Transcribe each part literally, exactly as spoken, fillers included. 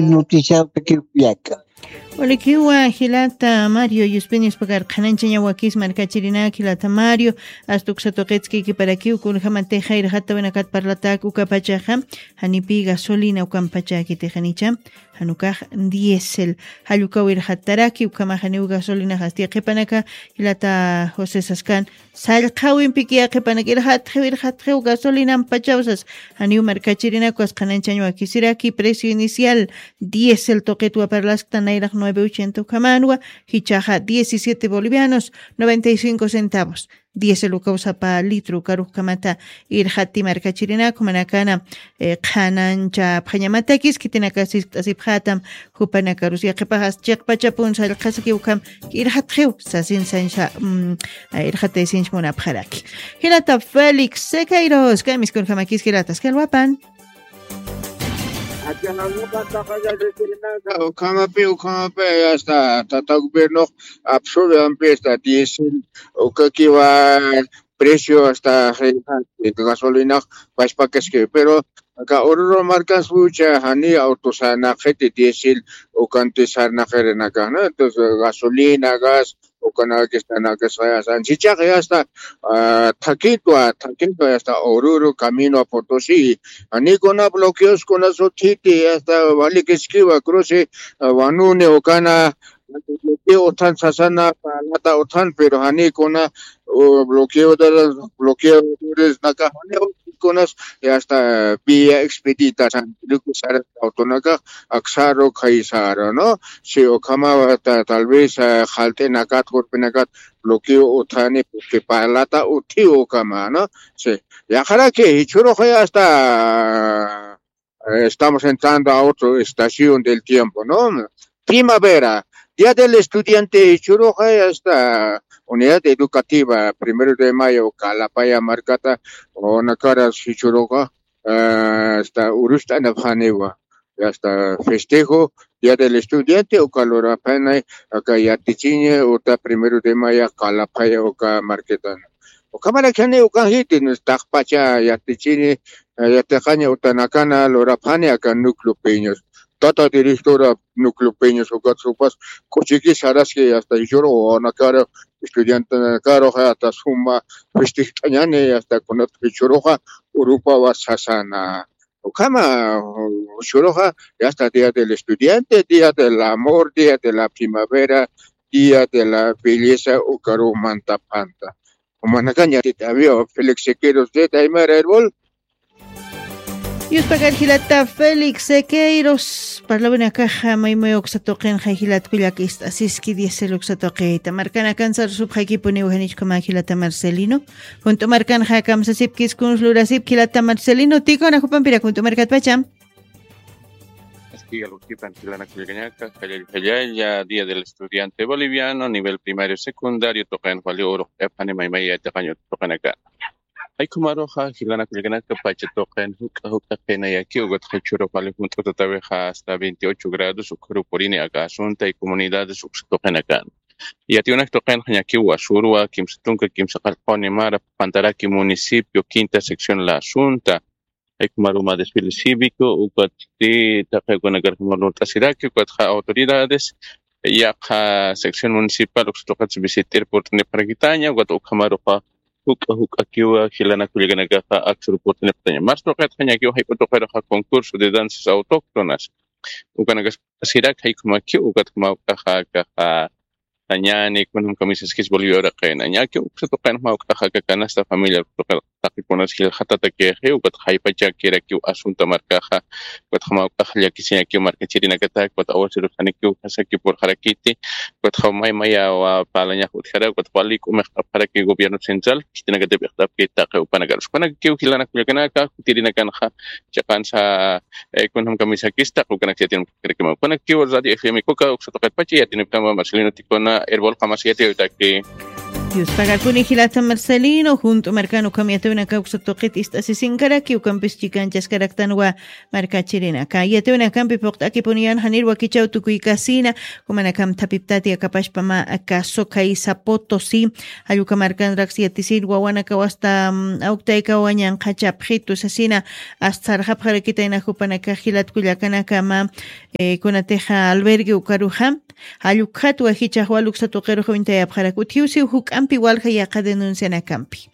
noticiaw takiw llaka. Ulikiwa jilata Mario, yuspiñas pakar qhananchañawakis markachirinak jilata Mario, astuksatuqitski kiparakiw kunjamatixa irxatawinakat parlatak ukapachaxa, janipi gasolina ukampachakitixanicha, janukax diésel, jallukawirxataraki ukamaxaniw gasolina jasti qhipanaka, jilata José Saskan, sallqhawimpikiya qhipanakir jatxiwir jatxiw gasolinampachawsas. Janiw markachirinakuwas qhananchañwakisiraki precio inicial diésel tuqitwa parlaskta nayraq nueve ochenta ukhamanwa, jichaxa diecisiete bolivianos noventa y cinco centavos. Diésel ukaw sapa litro ukarukkamata irjati markachirinaku manakana, qhananchapxañamatakis khitinakasist'asipxatam. Jupanakarus yaqhipaxas chiqpachapun sallqhasaki ukham irxatxiw sasin sansa. Irxataysinch munapxaraki. Jilata Félix Sequeiros kamiskunjamakis jilatas kalwapan. Ukhamapi ukhamapi hasta tata gobiernox absorbe ampi hasta diésel ukakiwa precio hasta gasolinax pachpakaski pero aka ururu markaspucha jani autosanaqiti diésel ukanti sarnaqirinaka, ¿no? Entonces gasolina, gas ukanakis tanakis sayasan chichaqa hasta thakitwa thakitwa hasta ururu camino a Potosí, janikuna bloqueos kuna suthiti hasta valikiskiwa cruce vanuni ukana bloqueo uthan sasana palata uthan pero janikuna bloqueo de los bloqueadores naka jani kunas hasta vía expedita santiluku sara autonaka aksaru khaysara, ¿no? Si ukhama tal vez jalt'inakat jurpinakat bloqueo uthani porque palata uthiw ukhama, ¿no? Si yaqharaki jichhuruxa hasta estamos entrando a otro estación del tiempo, ¿no? Primavera, día del estudiante jichhuruxa hasta unidad educativa primero de mayo kalapaya markata unakaras jichhuruxa hasta urust'anapxaniwa, hasta festejo día del estudiante uka luraphanay aka yatichiña uta primero de maya kalapaya uka marquetana. Ukhamaraki jani ukanjiti taqpacha yatichini yatiqaña utanakana luraphani aka núcleo peños, tata directora núcleo peños ukat supas k'uchiki saraski hasta jichhuru wawanakara estudiantenakaruxa hasta suma festejt'añani hasta kunat jichhuruxa urupawa sasana. Ukhama jichhuruxa hasta día del estudiante, día del amor, día de la primavera, día de la belleza ukaru mantapanta. Umanakaña tita avión Félix Sequeiros de Aymara Herbol. Yuspakar jilata Félix Sequeiros parlawinakaxa maymay uksa tuqinxa jilat kullak ist'asiski diésel uksa tuqita markanakan sarusupxaykipuniw janichkama jilata Marcelino. Junt'u markanxa kamsasipkis kuns lurasipki jilata Marcelino tikuna jupampirak junt'u markatpacha. Aski alwakipan jilanakullkañaka jallalla jallalla día del estudiante boliviano nivel primario secundario tuqin wali uruq epani maymaya yatiqañ tuqinaka. Jaykhumaruxa jilanakullkanaka pacha tuqin juk'a juk'a qinayaki ukat jichhurux wali junt'utatawixa hasta veintiocho grados ukharu purini aka asunta y comunidades uksa tuqinakan. Yatiwnak tuqinxa ñakiw wasurwa kimsa tunka kimsa qallquni mara pantaraki municipio quinta sección la asunta. Jaykhumaruma desfile cívico ukatsti taqi ukanakarjuma lurt'asiraki ukatxa autoridades yaqha sección municipal uksa tuqits visit'ir purt'nipxarakitaña ukat ukhamaruxa juk'a juk'akiwa jilanakullkanakaxa aksa rupurt'nipxtaña mas tuqitxa ñakiw jayp'u tuqiruxa concurso de danzas autóctonas. Ukanakasirak jaykhumakiw ukatjuma uk'axa akaxa sañani kunjam kamisaskis bolivia uraqina ñakiw uksa tuqinjuma uk'axa aka canasta familiar tuqi taqikunas jilxatatakixi ukat jaypachakirakiw asunta markaxa. Ukat jama uk'ax llakisiñakiw markachirinakatak ukat awasirusanikiw jasaki purxarakiti. Ukat jama maymayawa parlañax utjara ukat wali k'umixt'apxaraki gobierno central khitinakatip ixt'apki taqi upanakarus kunakakiw jilanakullakanaka jutirinakanxa chiqansa kunjam kamisakista qukanaksa yatinkirakimaw kunakakiw radio fm kuka uksa tuqitpacha yatinipkama marcelino tikuna herbol qamas yatiyawitaki. Dios pagarpuni jilata Marcelino, junto marcano camiatuna causa toquet ist'asisinkaraki, ukampis chikanchaskaraktanwa markachirinaka. Yatewna kampi puqt'akipuniyan janir wakichaw tukuykasina, kumanakam thapiptati akapashpama kaso kaysa Potosí, jalluka markanraks yatisin wawanakaw hasta, mm, awktaykawa ñanqhachapxitu sasina, hasta sarxapxarakitayna jupanaka jilat kullakanakama, eh, kunatixa albergue ukaruxa, jallukxatwa jichaxwa luksa tuqiruxa uñtayapxarak. Utjiwsiw juk'ampi walja yaqa denuncianakampi.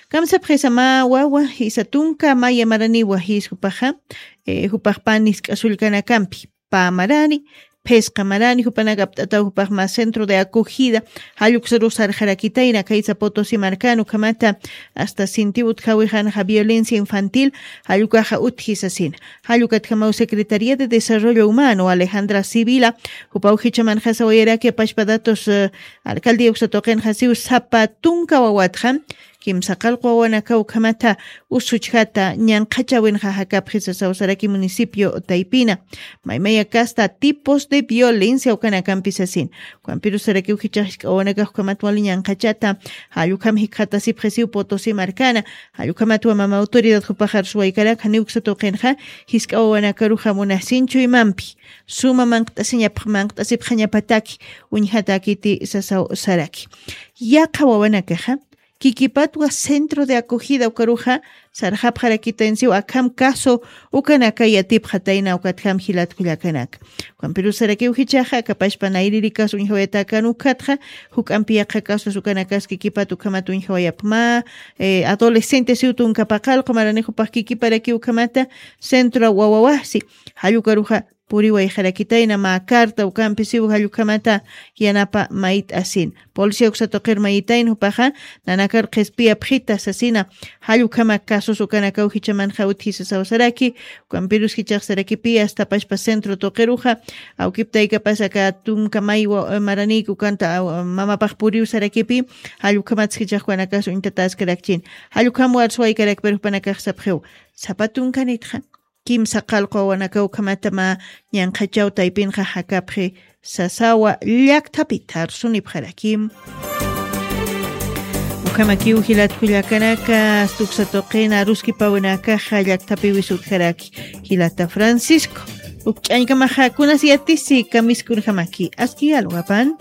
Kamsapxisama wawa, jisa tunka maya maraniwa jis jupaxa, eh, jupax panis k'asullkanakampi. Pä marani, phisqa marani, jupanak apt'ataw jupax mä centro de acogida, jalluksaru sarxarakitayna, kaysa Potosí markan ukhamata, hasta sintiw utjawixanxa violencia infantil, jallukaxa utji sasina. Jallukatjamaw Secretaría de Desarrollo Humano, Alejandra Sibila, jupaw jichamanxa sawayaraki apashpa datos, eh, alcaldía uksa tuqinxa siw sapa tunka wawatxa, kimsa qallqu wawanakaw ukhamata usuchjata ñanqhachawinxa jakapxi sasaw saraki municipio taypina. Maymaya kasta tipos de violencia ukanakampi sasin. Ukampirus sarakiw jichhax jisk'a wawanakax ukhamat wali ñanqhachata, jallukam jikxatasipxisiw Potosí markana, jallukhamatwa mama autoridad jupaxar suwaykarak janiw uksa tuqinxa, jisk'a wawanakaruxa munasinchu imampi. Suma manqt'asiñap-, manqt'asipxañapataki, uñjatakiti sasaw saraki. Yaqha wawanakaxa, kikipatwa centro de acogida ukaruxa, sarxapxarakitaynsiw akham caso ukanaka yatipxatayna ukatjam jilat kullakanaka. Ukampirus sarakiw jichhaxa, akapashpa nayririkas uñjawayatakan ukatxa, juk'ampi yaqha casos ukanakas kikipat ukhamat uñjawayapma, eh, adolescentes siw tunka paqallqu maranix jupax kikiparakiw ukhamata centro wawawasi, jallukaruxa puriwayxarakitayna mä carta ukampi siw jallukhamata yanapa mayt'asin. Policía uksa tuqir mayitayn jupaxa, nanakar qhispiyapxita sasina, jallukhama casos ukanakaw jichamanxa utji sasaw saraki, ukampirus jichhax sarakipi hasta pashpa centro tuqiruxa, awkiptaykapas aka tunka maywa, eh, maranïki ukanta, aw, mamapax puriw sarakipi, jallukhamat jichhax ukanakas uñtataskarakchin. Jallukham warsuwaykarakpir jupanakax sapxiw. Sapa tunkanitxa. Kimsa qallqu wawanakaw ukhamata mä ñanqhachaw taypinxa jakapxi sasawa llakthapita arsunipxarakim. Ukhamakiw jilat kullakanaka, hasta uksa tuqin aruskipawinakaxa llakthapiwis utjaraki. Jilata Francisco, uk ch'añkamaxa kunas yatisi kamiskunjamaki, aski alwapan.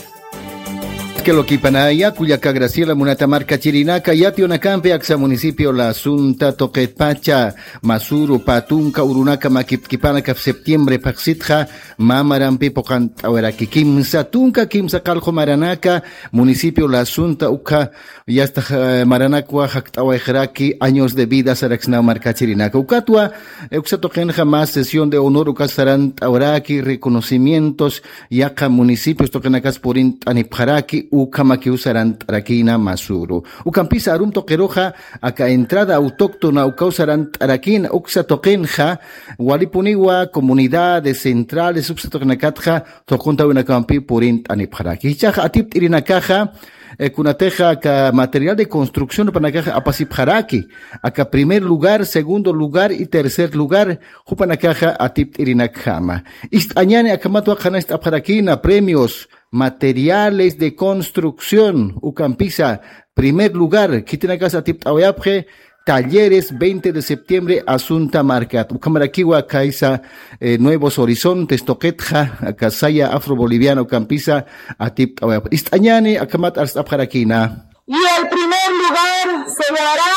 Kelo kipanaya, kullaka Graciela, munata markachirinaka, yatiyunakampi aksa municipio La Asunta, Tuqitpacha, Masuru, pä tunka urunaka makipt'kipana kap septiembre phaxsitxa, mä marampi puqant'awiraki kimsa tunka kimsa qallqu maranaka, municipio La Asunta, ukha, yasta, eh, maranakwa jakt'awayxaraki años de vida saraksnaw markachirinaka. Ukatwa, eh, uksa tuqinxa mä sesión de honor uka sarant'awiraki reconocimientos, yaqha municipios tuqinakas purint'anipxaraki, ukhamakiw sarant'arakïna Masuru. Ukampisa arum tuqiruxa, aka entrada autóctona ukaw sarant'arakïna, uksa tuqinxa, walipuniwa comunidades centrales, uksa tuqinakatxa, tuquntawinakampi purint'anipxaraki. Jichhaxa atipt'irinakaxa, eh, kunatixa aka material de construcción jupanakaxa apasipxaraki, aka primer lugar, segundo lugar y tercer lugar, jupanakaxa atipt'irinakjama. Ist'añäni akhamatwa qhanañcht'apxarakïna premios, materiales de construcción, ukampisa, primer lugar, khitinakas atipt'awayapxi, talleres veinte de septiembre, Asunta markat. Ukhamarakiwa kaysa, eh, Nuevos Horizontes tuqitxa, aka saya afroboliviana ukampisa, atipt'awayapxi. Ist'añäni akhamat arst'apxarakïna. Y el primer lugar se llevará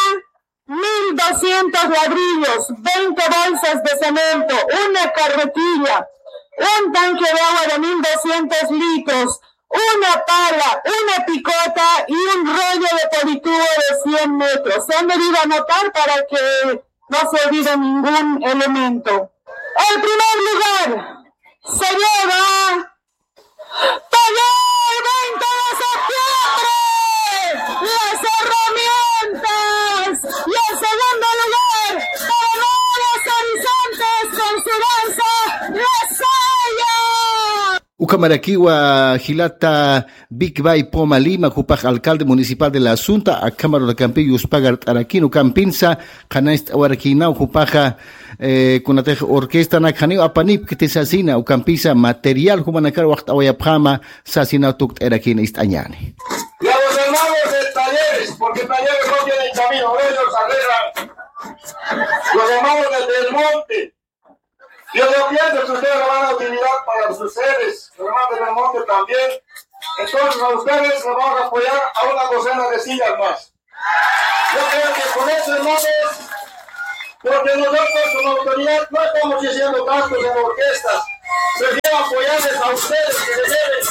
mil doscientos ladrillos, veinte bolsas de cemento, una carretilla, un tanque de agua de mil doscientos litros, una pala, una picota y un rollo de politubo de cien metros. Se han debido anotar para que no se olvide ningún elemento. El primer lugar se lleva Taller veinte de septiembre, las herramientas y el segundo lugar para Nuevos Horizontes con su danza, la saya. Ukhamarakiwa jilata Big Bay Poma Lima, jupax alcalde municipal de La Asunta, akhamarunakampi yuspagart'arakïn, ukampinsa, qhanañcht'awarakïnaw jupaxa, eh, kunatix orquestanak janiw apanipkti sasina, ukampisa material jumanakar waxt'awayapxäma sasina tukt'ayarakïna ist'añäni. Y a los hermanos de Talleres, porque Talleres no tienen camino, ellos arreglan. Los llamados desde el monte. Yo, yo pienso que ustedes lo van a utilizar para sus sedes, los hermanos del monte también. Entonces a ustedes les vamos a apoyar a una docena de sillas más. Yo creo que con eso, hermanos, porque nosotros como autoridad no estamos diciendo tantos en orquestas, prefiero apoyarles a ustedes que se lleven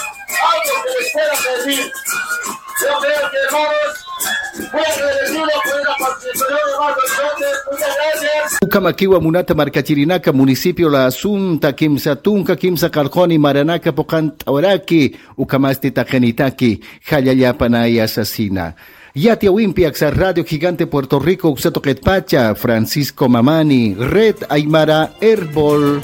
algo que les pueda servir. Yo creo que, hermanos, muy agradecido por esa participación, hermanos. Entonces, muchas gracias. Ukhamakiwa munata markachirinaka, municipio La Asunta, kimsa tunka, kimsa qarquni maranaka puqant'awaraki, ukhamasti taqinitaki, jallallapanaya sasina. Yatiyawimpi aksa Radio Gigante Puerto Rico uksa tuqitpacha, Francisco Mamani, Red Aymara Erbol.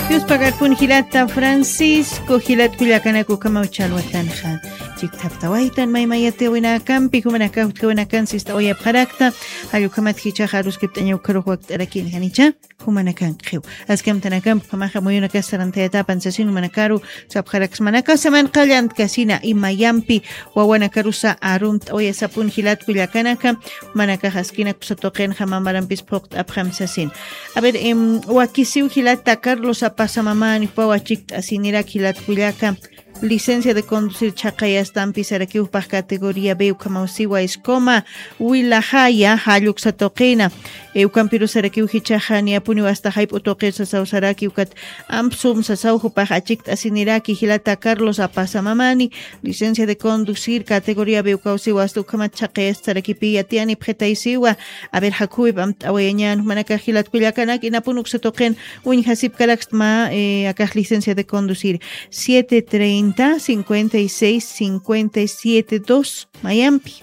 Dios pagarpun jilata Francisco, jilat kullakanaka ukhamaw challwatanxa. Chikthaptawaytan mayma yatiyawinakampi, jumanakax utjawinakan sist'awayapxarakta, jall ukhamat jichhaxa aruskipt'aña ukharux wakt'arakin janicha. Jumanakankxiw. Aski amtanakampi ukhamaxa muyunakas sarantayatapan sasin jumanakaru sapxaraksmanaka saman qallantkasina imayampi wawanakarusa arumt'awayasapun jilat kullakanaka, jumanakax askinak uksa tuqinxa mamarampis phuqt'apxam sasin. A ver, em, wakisiw jilata Carlos Apasamamani jupaw achikt'asinirak jilat kullaka. Licencia de conducir chhaqayastampi sarakiw jupax categoría B ukhamaw siwa Escoma, Wilajaya, jall uksa tuqina. E, ukampirus sarakiw jichhaxa niyapuniw hasta jayp'u tuqir sasaw saraki ukat amp sum sasaw jupax achikt'asiniraki jilata Carlos Apasamamani, licencia de conducir categoría B ukaw siwa hasta ukhamat chhaqayast sarakipi yatiyanipxitaysiwa. A ver, jakhuwip amt'awayañän, jumanakax jilat kullakanak inapun uksa tuqin uñjasipkarakst mä, e, akax licencia de conducir. Siete treinta, cincuenta y seis, cincuenta y siete, dos. Mayampi.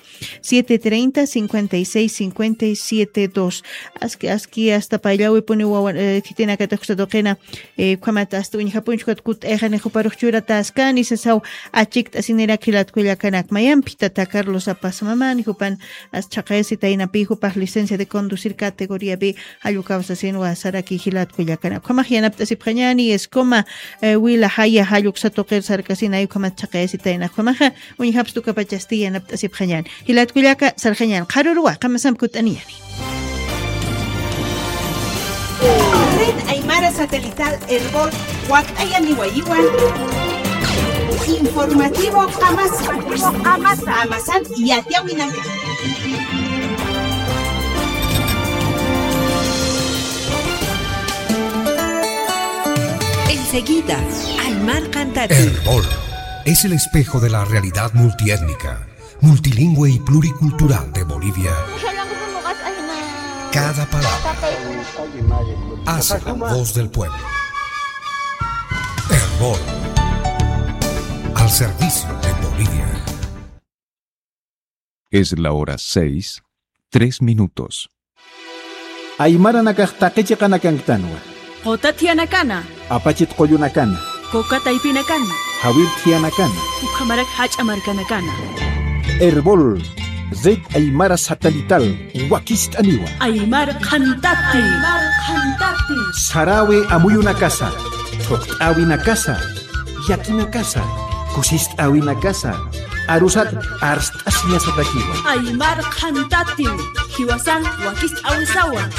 Siete treinta, cincuenta y seis, cincuenta y siete, dos. Aski, aski hasta payllawipuni wawan, eh, khitinakatix uksa tuqina, eh, ukhamat hasta uñjapunchkat kut'ayxani juparux churataskani sasaw achikt'asinirak jilat kullakanak. Mayampi tata Carlos Apasamamani jupan as chhaqayasitaynapi jupax licencia de conducir categoría B. Jall ukaw sasinwa saraki jilat kullakanak. Ukhamax yanapt'asipxañäni, Escoma, eh, Wilajaya, jall uksa tuqir sarkasinay ukhamat chhaqayasitayna. Ukhamaxa uñjapst ukapachasti yanapt'asipxañäni. Jilat kullaka, sarxañäni. Qharüruwa, qamasamp kutt'aniyäni. Red Aymara Satelital Erbol, wakt'ayaniwayiwan. Informativo Qamasa. Qamasa. Qamasan yatiyawinaka. Enseguida, Aymar Qhantati. Erbol es el espejo de la realidad multiétnica, multilingüe y pluricultural de Bolivia. Cada palabra hace la voz del pueblo. Erbol, al servicio de Bolivia. Es la hora seis, tres minutos. Aymaranakax taqi chiqanakanktanwa. Quta thiyanakanxa. Apachit qullunakana. Kuka taypinakana. Jawir thiyanakanxa. Ukhamarak jach'a markanakana. Erbol, Red Aymara Satelital, wakist'aniwa. Aymar Qhantati. Aymar Qhantati. Sarawi amuyunakasa, thuqt'äwinakasa, yakinakasa, kusist'äwinakasa, arusat arst'asiñasatakiwa. Aymar Qhantati, jiwasan wakist'äwisawa.